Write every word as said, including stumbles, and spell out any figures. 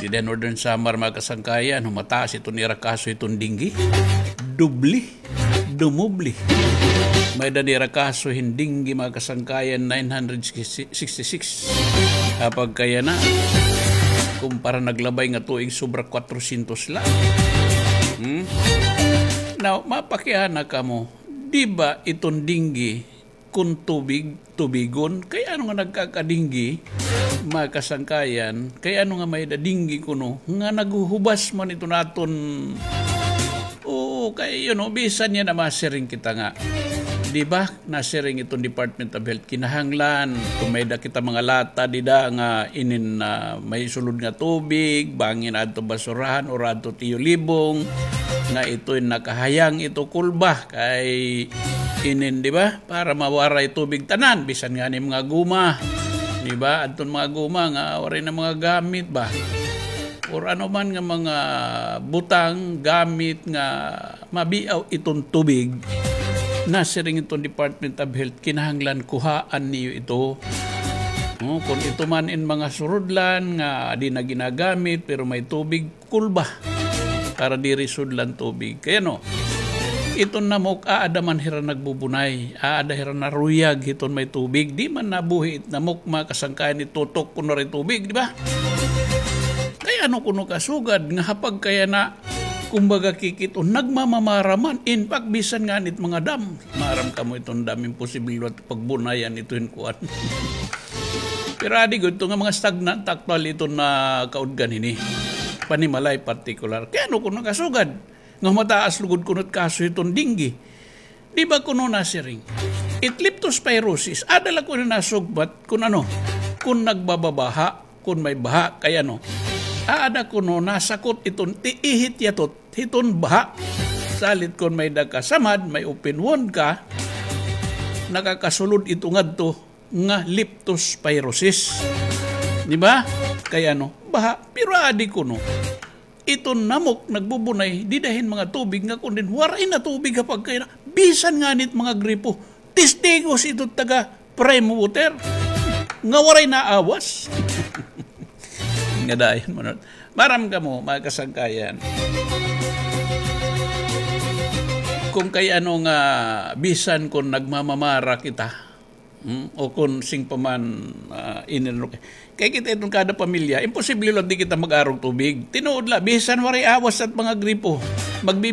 Dida Northern Samar, mga kasangkayan, humataas iton ira kaso hiton dengue. Dubli. Dumubli. May-ada nira kaso hin dengue, mga kasangkayan, nine hundred sixty-six. Apagkayana, kumpara naglabay nga tuig, sobra kwatrosyentos la. Hmm? Now, mapakiana kamo, di ba iton dengue, kun tubig, tubigon? Kay ano nga nagkakadinggi, mga kasangkayan? Kay ano nga may-ada dinggi kuno nga naghuhubas man ito naton? Oo, kay, you know, bisan yana masiring kita nga, di ba, nasiring iton Department of Health, kinahanglan kun may-ada kita mga lata dida nga inin, ah, may sulod nga tubig, bangin adto basurahan or adto tiyulibong, nga ito'y nakahayang ito kulba kay inin, di ba? Para mawaray tubig tanan, bisan ngani mga guma. Di ba? Adton mga guma nga waray na mga gamit ba? Or ano man nga mga butang, gamit nga mabiaw iton tubig, nasiring iton Department of Health, kinahanglan kuhaan niyo ito. No, kun ito man in mga surudlan nga di na ginagamit, pero may tubig, kulba para diri sudlan tubig. Kay ano, iton namok, aada man hira nagbubunay, aada hira naruyag hiton may tubig. Di man nabuhi it namok, mga kasangkayan, itutok kun waray tubig, di ba? Kay ano kuno kasugad nga hapag kay ana, kumbaga, kikit-on, nagmamamara man. In fact, bisan ngani it mga dam, maaram kamo iton dam, imposible liwat pagbunayan ito hin kuan. Pero adi gud ito nga mga stagnant, actually, ito na kaudgan hini. Panimalay partikular. Kay ano kuno kasugad nga mataas lugod kuno it kaso hiton dengue? Di ba kuno nasiring, it leptospirosis, aada la kuno nasugbat kun ano, kun nagbababaha, kun may baha, kay ano, aada kuno nasakot iton tiihit yatot hiton baha. Salit kun may-ada ka samad, may open wound ka, nakakasulod ito ngadto nga leptospirosis. Di ba? Kay ano, baha, pero adi kuno, iton namok nagbubunay dida hin mga tubig nga kun din waray na tubig hapag kay ana, bisan ngani it mga gripo. Testigos ito taga Prime Water nga waray naawas. Nga dayon man. Maaram kamo, mga kasangkayan, kun kay ano nga bisan kun nagmamamara kita, hmm, o kun sing pa man, ah, inilok. Kay kita iton kada pamilya, imposible la di kita mag-arog tubig. Tinuod la, bisan waray awas it mga gripo. Magbi-